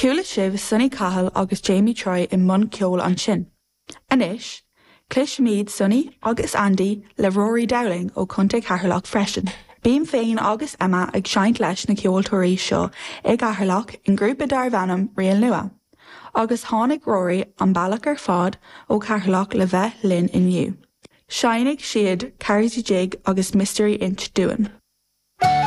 Chuala sibh Sonny Cahill agus Jamie Troy i mbun ceoil ansin. Anois, cloisfimid Sonny agus Andy le Rory Dowling ó Chontae Cheatharlach freisin. Bím féin agus Emma ag seinnt leis na ceoltóirí seo i gCeatharlach i ngrúpa darbh ainm Riail Nua. Agus tháinig Rory an bealach ar fad ó Cheatharlach le bheith linn inniu. Seinnfidh siad Carrozzi Jig agus Mystery Inch dúinn.